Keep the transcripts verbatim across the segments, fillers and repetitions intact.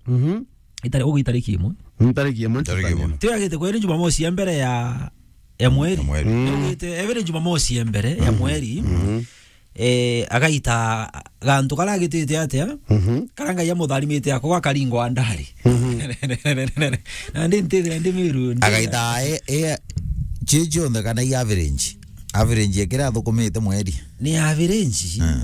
Mhm. Itari-, ugu itariki imwe. Mm, tariki imwe. Tariki imwe. Tio yagite kweri Jumamosi ya mbere ya, ya mweri. Ya mweri. Mm. Yagite, ebere Jumamosi ya mbere ya mweri. Mhm. Eh, agaita gantu karia agitite atia? Mhm. Karia Ngai amutharimite ako gakaringwa ndari. Mhm. Na ndi ntithira ndi Miru, ndi Agaita e, e, chi cionthe kana i average? Average ya kiria athukumite mweri. Ni average? Mm.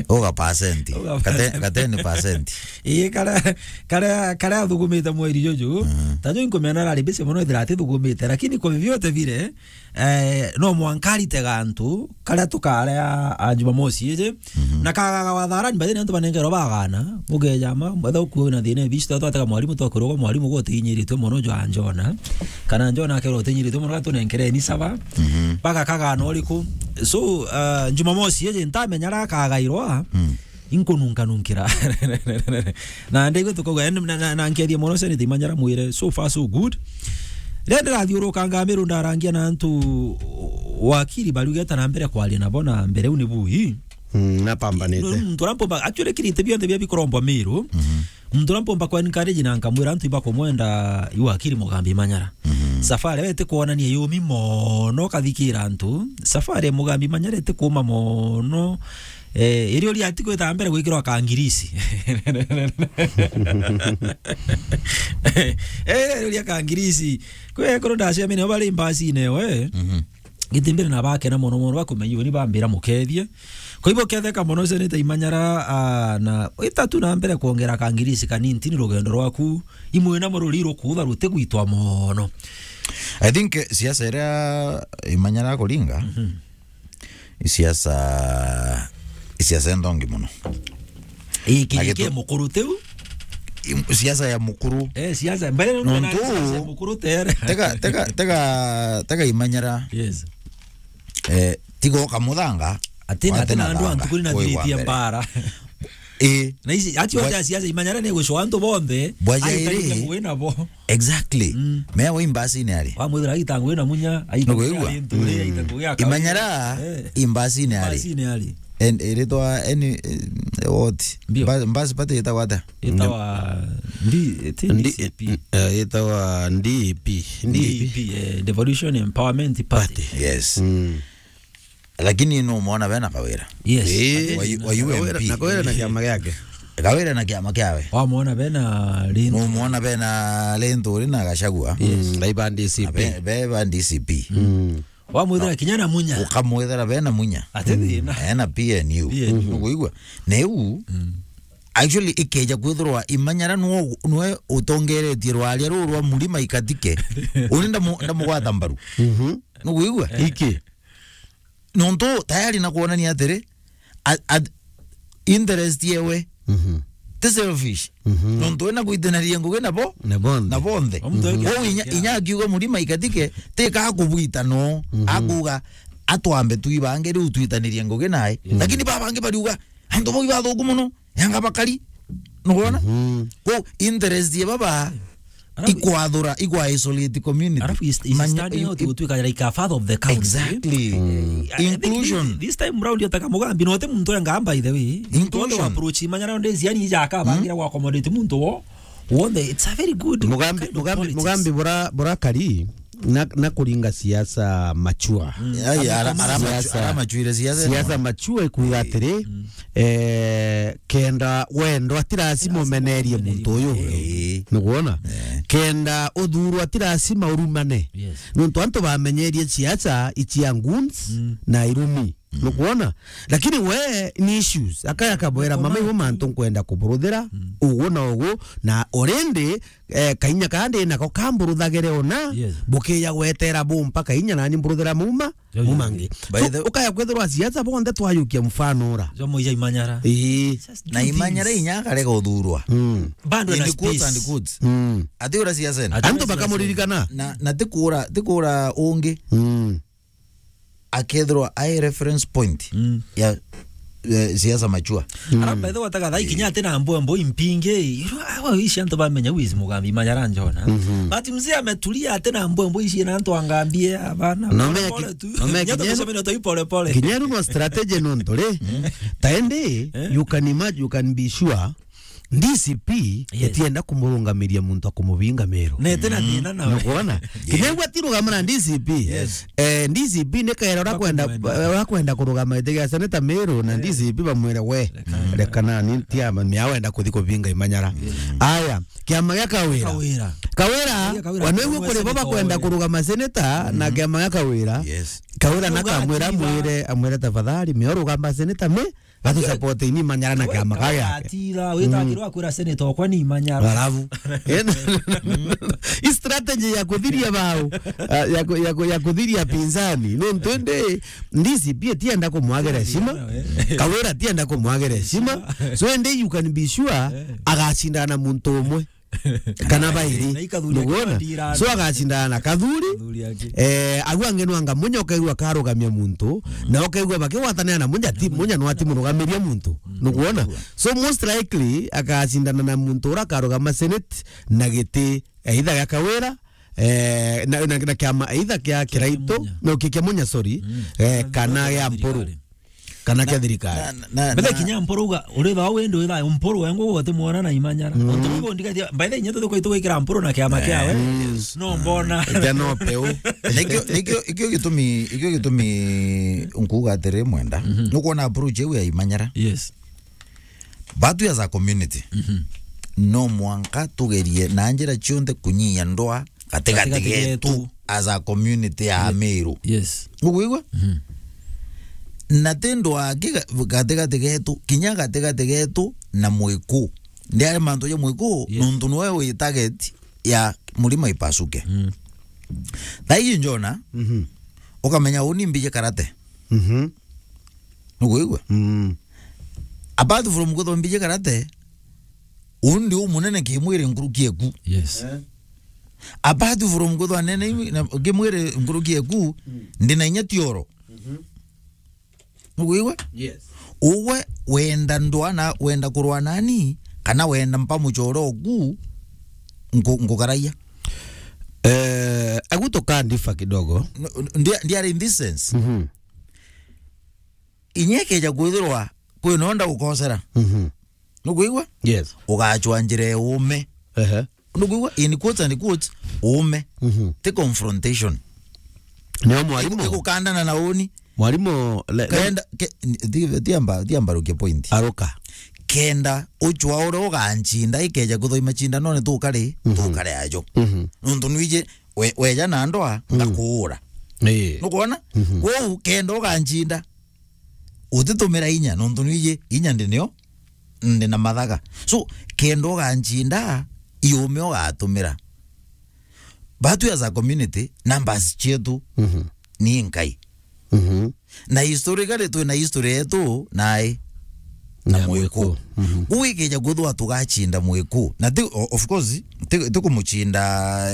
Uga percent. Uga Kate-, percent. Kateni percent. Ii, karia, karia, karia athukumite mweri juju. Mm. Ta jo inkumenya arari busy mono ethira atithukumite, lakini kwa vyovyote vile, eh, no mwanka arite gantu karia tukaria a Jumamosi iji. Mhm. Na kagaga watharani, by the way, antu banengerwa bagana, mugeja ma, mwetha ukuo na thina bici, twatega mwarimu, twakwirwa mwarimu gutiinyiritwe mono jwa njona, kana njona akerwa utiinyiritwe mono, gatunenkereni saba. Mhm. Baga kagana uriku? So, uh, Jumamosi iji ntamenya ra kagairwa, Mm. inkununkanunkira. Na ndegwe tukauga, na, na, na nkethia mono Senator Imanyara mwire, so far so good. Riria ndirathiurukanga Miru ndarangia na antu wakiri bariugeta na mbere kwaria nabo na mbere u ni bui. Mm, napambanite. Muntu uria mpomba, actually, kirite bionthe bia bikurombwa Miru. Mhm. Muntu uria mpomba kwa encourage na nkamwira antu ibakumwenda i wakiri Mugambi Imanyara. Mhm. Safari we itikwonania yumi mono kathikira antu. Safari ya Mugambi Imanyara itikuma mono. Eh, iri uria ati gwita mbere gwikirwa kangirisi. Eh, iri uria kangirisi. Kwi ekuru ndacemania nabo bari mbacine we. Mhm. Giti mbere na bakena mono mono, bakumenya uni bambira mukethie. Kwa hivyo ketheka mono Senator Imanyara, ah, na itatu na mbere kwongera kangirisi kanini ntini rugendo rwaku. Imwe namo ruri rukutha rutigwitwa mono. I think, eh, siasa iria Imanyara akuringa, Mhm. i siasa, i siasa enthongi mono. Ii, Na kiri gitu- kia mukuru tiu? Im-, siasa ya mukuru. Eh, siasa, mbere nuntu Nontu na siasa ya mukuru tere. Tega, tega, tega, tega Imanyara. Yes. Eh, tiga ukamuthanga, Atina, wate atina na andu thanga, antu kuri na wigwa thiritie mbere. Mbara. Ii. Na ici, ati Bwa- wate siasa Imanyara ni gucwa antu bonthe, Bwa aitari jairi. Ngugi nabo. Exactly. Mm. Mewe imbacine ari. Wamwithira aita ngugi na munya, aita Niguigua? Ngugi ari nturi, aita ngugi ya kawaida. Imanyara Eh. imbacine ari. Imbacine ari. En-, iritwa eni, eh, what? Mbio. Mba-, mbasi pati itagwa ata? Itawa ndi-, eti Ndi-, D C P. Eh, itawa D P. D P, eh, Devolution Empowerment Party. Party. Yes. Mm. Lakini numwona bena Kawira. Yes. Eh. Wa U-, wa Kawira, U M P. Na Kawira na kiama giake. Kawira na kiama kiawe. Wamwona bena Linturi. Numwona bena Linturi na Gachagua. Yes. Mm, baiba D C P. Na be-, beba D C P. Mm. Wamwithira kinya na Munya. Ukamwithira bena Munya. Ati thina. Ena P N U. P N U. Nukuigua? Na iu, Mm. actually, ikeja kwithirwa Imanyara nwe, nwe utongeretie rwaria ruu rwa Murima Ikatike. Uni ndamu-, ndamugwata mbaru. Mhm. Nukuigua? Iki. Nontu tayari na kuonania atiri, a-, a-, interest yewe Mhm. ti selfish. Mhm. Nontu ena gwitanaria ngugi nabo, Na bonthe. Na bonthe. Omuntu eke Kwou inya, akia. Inya akiuga Murima Ikatike, tika kubwita no, Mhm. akuga, "Atwambe twi bangi riu twitanirie ngugi nae." Yes. Lakini ba bangi bariuga, "Antu bau ibathuku mono, yanga bakari." Nukwona? Mhm. Kwou interest ye baba, Arafu ikwathura, ikwa isolate community. Arafu is, is Manya-, standing i-, out i-, gutwika like a father of the country. Exactly. Mm. Eh, I think Inclusion. This, this time round, yotaka Mugambi, no te muntu enga, by the way. Inclusion. Muntu approach Imanyara nde ziani ija akabangira Mm. gwa accommodate muntu wo. Wonde, it's a very good Mugambi, kind of Mugambi, politics. Mugambi bura, bura kari, na, na kuringa siasa mature. Mm. Ai, ara-, ara-, Siasa, ara mature, siasa siasa ino. Mature ikuiga atiri, Mm. eh, kenda wendo, ati lazima umenerie muntu uyu. Eh. Nukwona? Eh. Kenda uthurwa, ati lazima urumane. Yes. Nontu antu bamenyerie siasa ici ya goons Mm. na irumi. Mm. Nukwona? Lakini we ni issues. Akaya kabwera, "Mama, iwe mantu nkwenda kuburuthira, Mm. ugu na ugu, na already, eh, kainya kaa ndi nako kamburuthagire ona, Yes. bukiya gwetera bumpa kainya nani mburuthira muma." Yo, yo. Mumangi. By So, the ukaya kwethirwa siasa bonthe twayukia mfano ura. Yo, muija Imanyara. Ii. Just do Na Imanyara things. Inya akarega uthurwa. Mm. Bado In na the quotes space. And quotes. Mm. Ati ura siasa ino. Ati Antu ura siasa bakamuririkana. Na, na tikura, tikura ungi. Mm. Akethirwa ai reference point Mm. ya, ya siasa mature. Mm. Ara bethe wataga thai kinya ati na mbwembo impingi. Awa ici antu bamenya wizi Mugambi Imanyara njona. Mhm. But mzee ametulia ati na mbwembo ici na antu angambie abana. No Pole meki-, pole tu. No meki-, Nyata kinyenu-, kusomera tu pole pole. Kinyeru no strategy no ntore. Mm. Taende, Eh? You can imagine, you can be sure D C P Yes. itienda kumurungamiria muntu akumubinga Meru. Na iti na Mm. thina nawe. Nukwona? Kinya igua tirugama na D C P. Yes. Eh, D C P ni kaira ura kwenda, Bakumwenda. ura kwenda kurugama giti gia seneta Meru na Eh. D C P bamwire, "We, Reka. reka nani ntiama, mia wenda kuthi kubinga Imanyara." Yes. Aya, kiama gia Kawira. Kawira. Kawira, Kawira, we nigwe kuri bo seneta bakwenda Kawira. kurugama seneta na Mm. kiama gia Kawira. Yes. Kawira Uga nakamwira atira. amwire, amwire, "Tafadhali, mia urugamba seneta me, gatu support ini Imanyara na Kawira, kiama Kawira gake." atira, wita Mm. akirwa akwira seneta okwa ni Imanyara. Alafu, i strategy ya kuthiria bao, ah, ya ku-, ya ku-, ya kuthiria pinzani. Nontu indi D C P atienda kumwagira heshima. Kawira atienda kumwagira heshima. So indi you can be sure Eh. agacindana na muntu umwe. Kana bairi. Na ikathuri Niguona? akiwa ndirano. So agacindana na Kathuri. Kathuri aki. Eh, agu angi no anga Munya ukaigua akarugamia muntu, na ukaigua bakigwatanira na Munya, ti, Munya no atimurugamiria muntu. Niguona? So most likely agacindana na muntu ura akarugama Senate na giti, either gia Kawira, eh, na, na, na kiama either kia Kiraitu, Munya. no, kia, kia Munya, sorry, Mm. eh, kana Kathuri gia Mpuru. thirikari. Kana kia thirikari. Na, na, Mbere na kinya Mpuru uga, uri thaa wendi uri thaa Mpuru wengu uti muona na Imanyara. Mm. Ontu bigo ndikathia, by the way, nyeto tuko itugwikira Mpuru na kiama Eh, kiawe. yes. No mbona. Ija no peu. Nikio, nikio, ikio gitumi, ikio gitumi nkuga atiri Mwenda. Mhm. Nukwona approach iu ya Imanyara. Yes. Batu as a community. Mhm. No mwanka tugerie na njira cionthe kunyia ndwa gatigati Gatigati getu getu. as a community ya Ye-, Meru. Yes. Nukwigua? Mhm. Na ti ndwa ki ga-, gatigati getu, kinya gatigati getu na Mwiku. Ndiari mantu ja Mwiku, Yes. nontu niwe wi target ya murima ipasuke. Mm. Thaiji njona, Mhm. ukamenya uni mbije karate. Mhm. Nukwigua? Mm. Apart from kwithwa mbije karate, uu ndi umunene kimwiri nkuruki eku. Yes. Eh. Apart from kwithwa nene imi-, na, kimwiri nkuruki eku, Mm. ndi na inya tioro. Mhm. Nukwigua? Yes. Uwe wenda ndwa na, wenda kurwa nani, kana wenda mpa muchoro oku, nku-, nkugaraia. Eh, agu tukandifa kidogo. N-, n-, ndia-, ndiari in this sense. Mhm. Inya ikeja kwithirwa kwina unda gukosera. Mhm. Nukwigua? Yes. Ugachwa njira ya uume. Ehe. Nukwigua? In quotes and quotes, uume. Mhm. Ti confrontation. Nio mwarimu. Igu-, igukandana na uni. Mwarimu, le-, le- Kenda, ke-, ti, ti amba, ti amba rukia point. Aruka. Kenda uchwa uria uganchinda, ikeja kuthoi machindanone tukari, Mhm. tukari ajo. Mhm. Nontu nwiji, we-, weja na ndwa, Mm. ngakuura. Ii. Nukwona? Mhm. Kwou, kenda uganchinda, utitumira inya, nontu nwiji, inya ndi nio, ndi na mathaga. So, kenda uganchinda, iume ugatumira. Batu as a community, numbers cietu Mhm. ni nkai. Mhm. Na historically twina history yetu nai na Na Mwiku. Mwiku. Mhm. Kwou ikija kwithwa tugachinda Mwiku. Na ti, o-, of course, ti, ti kumuchinda,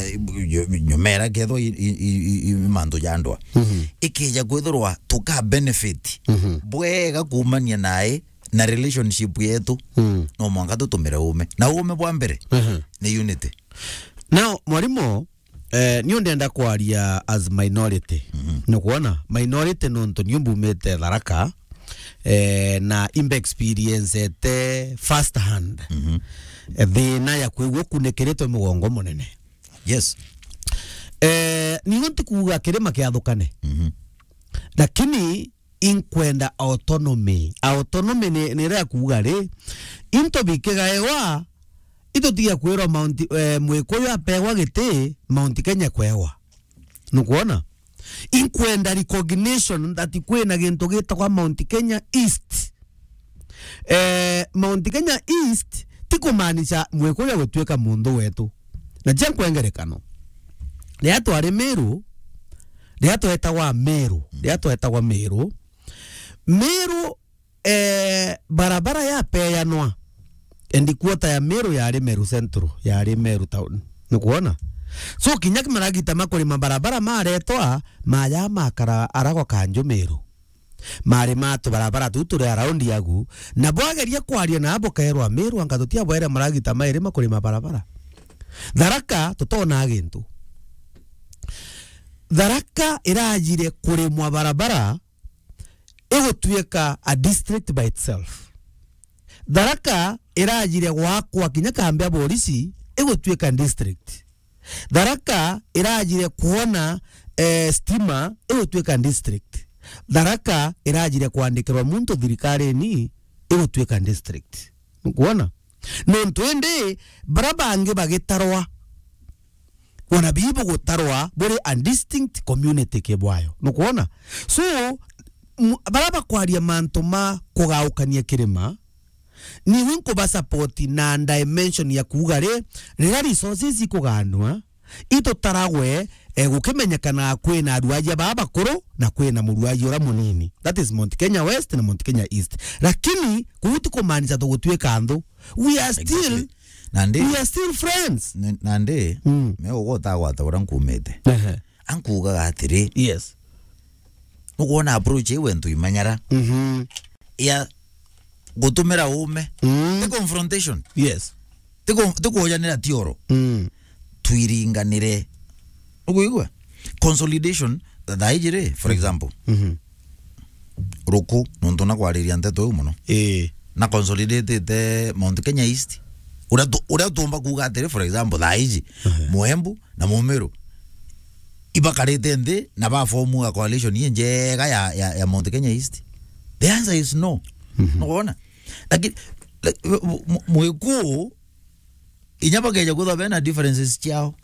eh, nyo-, nyomera kethwa i, i, i, i, i mantu ja ndwa. Mhm. Ikija kwithirwa tuka benefit Mhm. bwega kumania nai na relationship yetu. Mm. No mwanka tutumire uume. Na uume bwa mbere Mhm. ni unity. Now, mwarimu, Eh, niu ndenda kwaria as minority. Mhm. Nukwona? Minority nontu niu mbumite Tharaka, eh, na imbe experiencete first hand. Mhm. Eh, thina ya kwigua kunikiritwe mugongo munene. Yes. Eh, niu ntikuuga kirima kiathukane. Mhm. Lakini inkwenda autonomy. Autonomy ni, ni iria kuuga ri, into bikigaewa, itutige kwirwa Mount, eh, Mwikuyu apewa giti, Mount Kenya kwewa. Nukwona? Inkwenda recognition that kwina gintu gitagwa Mount Kenya East. Eh, Mount Kenya East ti kumaanisha Mwikuyu gutuika muntu wetu. Na cia nkwengerekano. Riria twari Meru, riria twetagwa Meru, riria twetagwa Meru, Meru, eh, barabara yapeanwa, headquarter ya Meru yari Meru Central, yari Meru Town. Nukwona? So, kinya maragita ma kurima barabara maretwa, maya makara aragwa kanju Meru. Mari ma tubarabara tuu turi around agu, na bwageria kwaria na abo kaerwa Meru anga tutiabwere maragita mairi ma kurima barabara. Tharaka tutona gintu. Tharaka irajire kurimwa barabara, igutuika a district by itself. Tharaka irajire gwakwa kinya kambi ya borisi igutuika district. Tharaka irajire kuona, eh, stima igutuika district. Tharaka irajire kwandikirwa muntu thirikarine igutuika district. Nukwona? Nontu indi bara bangi bagitarwa, wana bibu gutarwa buri a distinct community kibwayo. Nukwona? So, m-, bara bakwaria mantu ma kugaukania kirima, niwe nkuba support na dimension ya kuuga ri, riria resources ikuganwa, itutaragwe, eh, gukimenyekana kwina aruaji baa bakuru na kwina muruaji uria munini. That is Mount Kenya West na Mount Kenya East. Lakini kuu ti kumaanisha tugutuika nthu. We are still, exactly. Nandi, we are still friends. N-, nandi, mm, me ugota gwata uria nkumite. Ehe. Ankuugaga atiri, yes, nukwona approach iu entu imanyara. Mhm. Ya gutumira uume. Mm. Ti confrontation. Yes. Ti ku-, ti kuujanira tioro. Mm. Twiringanire. Nukwigua? Consolidation, thaa iji ri, for example. Mhm. Ruku, nontu na kwariria nteto iu mono. Ii. Na consolidatite Mount Kenya East. Uria tu-, uria tuumba kuuga atiri, for example, thaa iji, ehe, Muembu na Mumiru ibakarite nthi na ba form a coalition injega ya, ya, ya Mount Kenya East? The answer is no. Mhm. Nukwona? Lakini, like, mu-, mu-, Mwikuu, inya bakeja kwithwa bena differences ciao,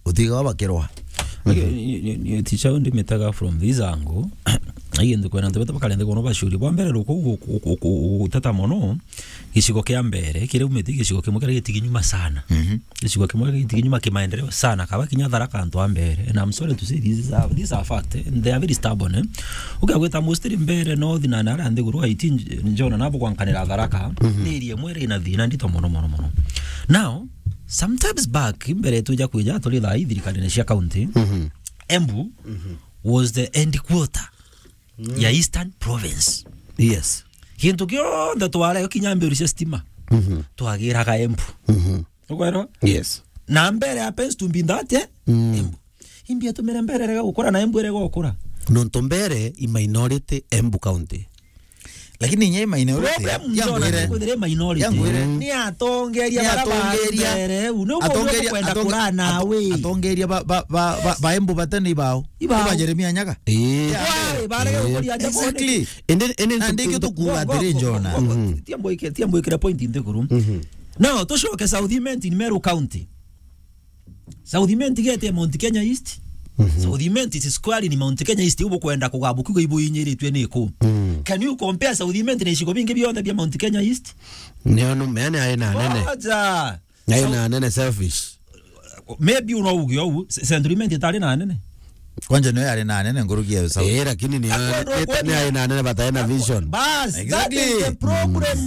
utigawa bakirwa. Ni, ni, ni, ni, ticha ndimitaga from this angle. Ai, nthi kwena nthi bata bakarende kono bashuri. Bwa mbere, ruku gu-, gu-, gu-, gu-, guteta mono, gicigo kia mbere, kiria umite gicigo kimwe kiria gitiginyuma sana. Mhm. Gicigo kimwe gitiginyuma kimaendeleo sana, kaba kinya Tharaka antu a mbere. And I'm sorry to say this is a, these are fact, eh, and they are very stubborn, eh. Ukia gwita mostly mbere north na, na aria nthiguru, I think, Njona nabo gwankanira Tharaka, mhm, ni area imwe iri na thina ndito mono, mono, mono. Now, sometimes back, mbere tuja kwija, turi thaa ii thirikarine cia county, mhm, Embu, mhm, was the end quarter, mm, ya Eastern Province. Yes. Gintu kionthe tware kinya mbiru cia stima, mhm, twagiraga Embu. Mhm. Ukwerwa? Yes. Na mbere happens to be that, eh? Mm. Embu. Imbi atumire mbere rega gukura na Embu rega gukura. Nontu mbere i minority Embu County. Lakini inya i minority, problem ya Njona ngwire, ni kwithira i minority. Ya ngwire. Ni atongeria, ni bara ba atongeria, mbere, u ni ukwenda atongeria, kwenda atonge-, kura nawe. Ato-, atongeria ba, ba, ba, ba, ba Embu batene ibao. Ibao. Iba Jeremia Nyaga. Ii. Yeah. Why? Barege, ii, gukuria nja. Exactly. Indi, indi na ndingi tukuuga atiri, Njona. Tiambo ike-, tiambo ikire point nthiguru. Mhm. Now, tucoke South Imenti in Meru County. South Imenti gete Mount Kenya East. Mhm. South Imenti is squarely ni Mount Kenya East, ubu kwenda kugabu kiugo ibu inyiritwe ni ku. Mm. Can you compare South Imenti na icigo bingi bionthe bia Mount Kenya East? Nio nu-, mene ai na nene. Aja. Ai na nene selfish. Maybe unauge ou, se-, Central Imenti itari na nene. Kwanja niyo yari na nene nguruki ya South. Eh, lakini ni, ni, ni, ni ai na nene batae na vision. Bas, exactly. That is the problem.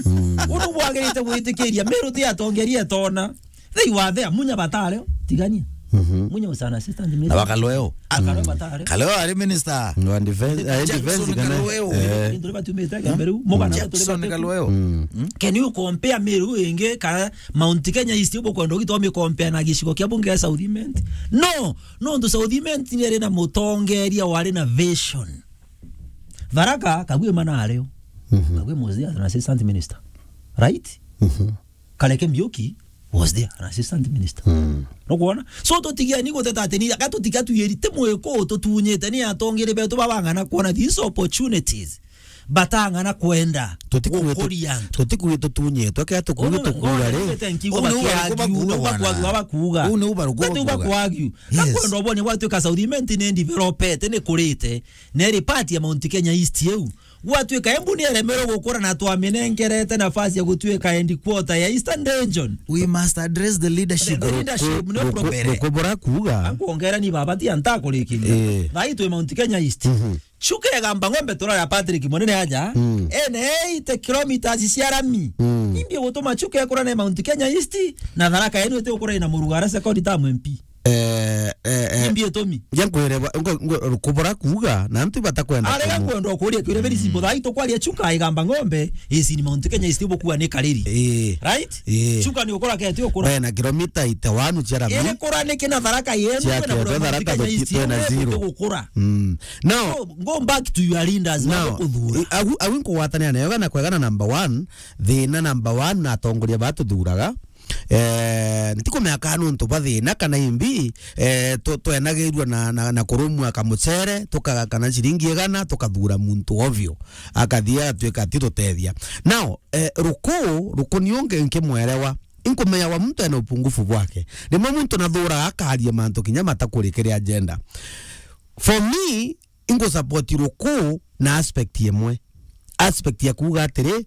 Mm. Undu bwagirite gwitikiria Meru ti atongeria etona. They were there, Munya batare, tigania. Mhm. Munya was an assistant minister. Na wa Kalweo. Akalweo batare. Kalweo ari minister. Wa defense, eh, Jackson defense kana? Kalweo. Eh. Ndio batumite Kemberu, mugana turi Jackson batu. Kalweo. Mm. Can you compare Meru ingi kana Mount Kenya East ubu kwenda ugitwa mi compare na gicigo kia bunge ya South Imenti? No, no, ndu South Imenti ni ari na mutongeria wari na vision. Tharaka, Kagwe mana ario. Mhm. Kagwe was there as an assistant minister. Right? Mhm. Kareke Mbiuki was there, an assistant minister. Mm. Nukwona? So, tutigieni guteta ati ni, aka tutiga tuyiri ti Mwikuu tutunyite ni atongeri betu babang'ana kwona these opportunities. Batang'ana kwenda gukuria antu. Tutikuwi tutunyitwe, kea tukuwi tukura ri. Uu ni ubaruku bakuga. Uu ni ubaruku bakuga. Yes. Nakwenda ubone gwatuika South Imenti ni developete, ni kurite, neri part ya Mount Kenya East iu. Gwatuika Embu ni eremerwe gukura na twaminengerete nafasi ya gutuika headquarter ya Eastern Region. We must address the leadership. The leadership nio problem. Ruku-, ruku-, ruku burakuga. Ankwongera ni baba ti antakurikiria. Eh. Thai twi Mount Kenya East. Mhm. Chuka egamba ng'ombe turara Patrick Munene aja. Mm. Ene eighty kilometers cia rami. Mm. Imbi gutuma chuka ekura na Mount Kenya East na Tharaka yenu iti gukura na Murugara second term M P. Eh, eh, eh. Imbi itumi. Ja nkwire ba-, ngo-, ngo-, kubura kuuga, na antu batakwenda arega kumu- kwenda ukuria, twire very simple. Mm. Thaa ii tukwaria Chuka igamba ng'ombe, isi ni Mount Kenya, isi bukua ni Kariri. Ii. Right? Ii. Chuka ni ukura keti ukura. Bena kilomita eighty-one cia rami. Iri kura ni kina Tharaka yenu, cia kwenda kethwa kura Mount Kenya, isi twena zero. Gukura. Mm. Now, so, go back to your leaders, now, bakuthura. I-, agu, agu nkugwatania nayo, na kwega na number one, thina number one na atongoria batuthuraga. Eh, ntikumenya kana nontu bwa thina kana imbi, eh, tu-, twenagirua na, na, na kurumua kamucere, tukaga kana ciringi igana, tukathura muntu ovyo. Akathii agatuika atitutethia. Now, eh, Ruku, Ruku ni ungi nkimwerewa. Inkumenya wa muntu ena upungufu bwake. Rimwe muntu nathuraga akaria mantu kinya matakuri kiri agenda. For me, ingusupport Ruku na aspect imwe. Aspect ya kuuga atiri,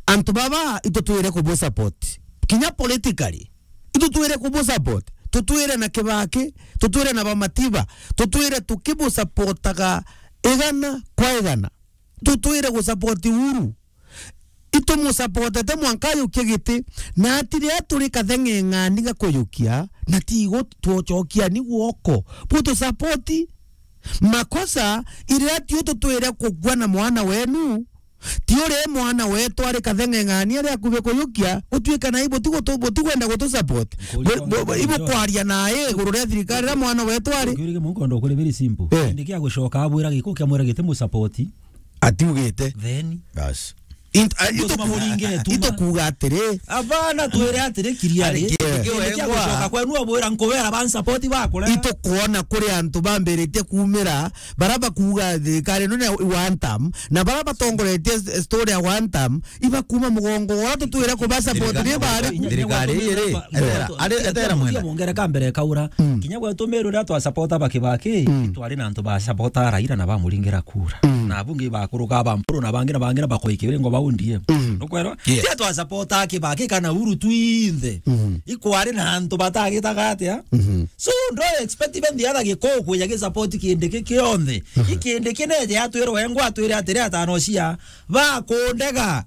antu baba itutwire kubusupport. Kinya politically, itutwire kubusupport. Tutwire na Kibaki, tutwire na Bamatiba, tutwire tukibusupportaga igana kwa igana. Tutwire gusupport Uhuru. Itumusupportete mwanka ayukie giti, na ati riria turi katheng'eng'ani ga kuyukia, na tigo twocokia ni gwoko. Butusupport. Makosa, iriria tiu tutwire kugua na mwana wenu, ti uri mwana wetu ari katheng'eng'ani ari akubi kuyukia, gutuika na ibuti gutu-, butikwenda gutusupport. Nkuria bu-, bu-, ibukwaria nae iguru ria thirikari riria mwana wetu ari. Nkuria mungu ndo kuri very simple. Eh. Ndi kia gucoka abwira giku kia mwira giti musupport. Atiugite. Then. Bas. Int-, a-, ito-, ito kuuga atiri. Abana twire atiri kiriari. Ari ki-, ki-, kia wengwa. Gucoka kwenu abwira nkubera ban support bakura. Ito kuona kuri antu bambiritie kuumira, bara bakuuga thirikari ino ni ya one term, na bara batongoretie s-, story ya one term, iba kuuma mugongo, ora tutwire kuba support ni bari. Thirikari iri, etera, ari, etera mwenda. Mongere kambere kaura. Mm. Kinya gwetu Meru riria twa support ba Kibaki, mm, twari na antu ba support Raila na bamuringira kura. Mm. Na abunge bakuruka ba Mpuru na bangi na bangi na bakoikiringo ba O D M. Mm. Nukwerwa? Yes. Tia twa support Kibaki kana Uhuru twinthe. Mm. Ikwari na antu batagitaga atia? Mm-hmm. So, ndo expect even the other Gikuyu kuja gi support Kindiki kionthe. Mm-hmm. Ikindiki neje atwirwe engwa atwire atiri atano cia bakundega.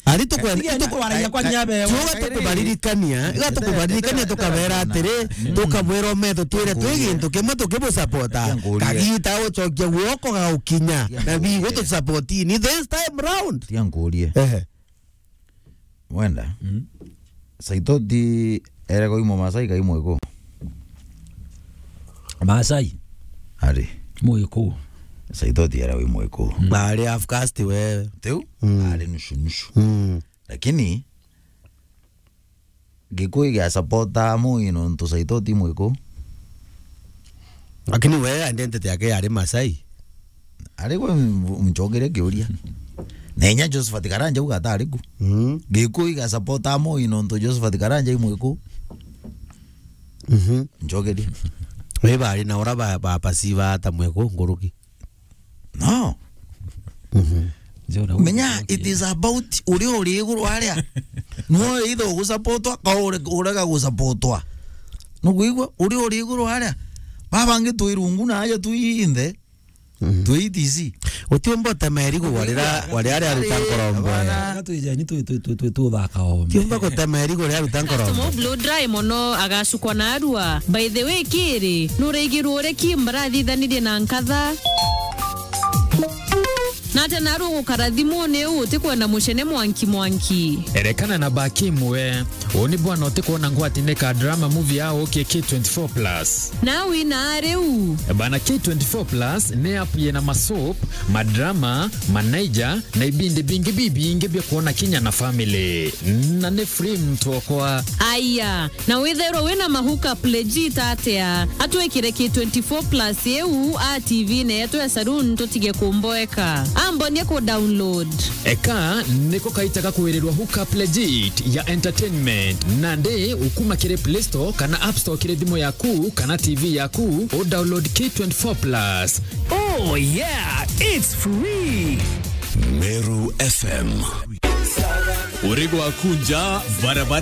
Ari tukwenda, tige ituku-, twaragia kwa nyabe. Tiuga tukubaririkania, iga tukubaririkania tukabera atiri, tukabwira metho twire twi gintu kimwe tukibusapota. Kagita ucokia guoko gagukinya, na bigu tusapotini this time round. Tia nkurie. Ehe. Wenda? Mm. Saitoti erego imo Masai ka imo iku? Masai. Ari. Muiku. Saitoti erego imo iku. Mm. Ari half caste wewe. Tiu? Mm. Ari nusu nusu. Mm. Lakini Gikuyu gia supporta Moi nontu Saitoti Muiku. Lakini we identity yake yari Masai. Ari gwe m-, mchogeria kiuria. Na inya Josephat Karanja uga atari ku. Mm. Gikuyu gia supporta Moi nontu Josephat Karanja i Muiku. Mhm. Nchogeria. We bari na ora ba, ba pasiva ata Muiku nguruki. No. Mhm. Menya, it is about uria uri iguru aria. No either ugusapotwa, ka ure-, urega gusapotwa. Nukuigua? Uria uri iguru aria. Babangi twi rungu na aja twi inthe. Mhm. Twi T C. Utiumba utema irigu warira, warira aria aruta nkorombo. Abana. Twijeni twi, twi, twi, twi, twi, tuthaka ombe. Tiumba gutema irigu ria aruta nkorombo. Customer blow dry mono agacukwa na arua. By the way, kiri, nuraigirwo uria ki mbarathithanirie na nkatha? Na ati narua gukara thimuni uu utikwenda mucene mwanki mwanki. Erekana na Bakim we. Uu ni bwana utikwona ngwati ni ka drama movie ya uki K twenty-four plus. Na wina riu. Bana K twenty-four plus ni app yina masoap, madrama, manaija, na ibindi bingi bibingi bia kwona kinya na family. Na ni free mtu okwa. Aya, na withairwa wina ma hookup legit atia? Atwikire K twenty-four plus iu a T V-ini yetu ya saloon tutige kumboeka. Ambonie ku download. Eka niko kaita ga kwirirwa hookup legit ya entertainment. Nandi ukuma kiri Play Store kana App Store kiri thimu yaku kana T V yaku, u download K twenty-four plus. Oh yeah, it's free. Meru F M. Uri gwaku nja, barabara.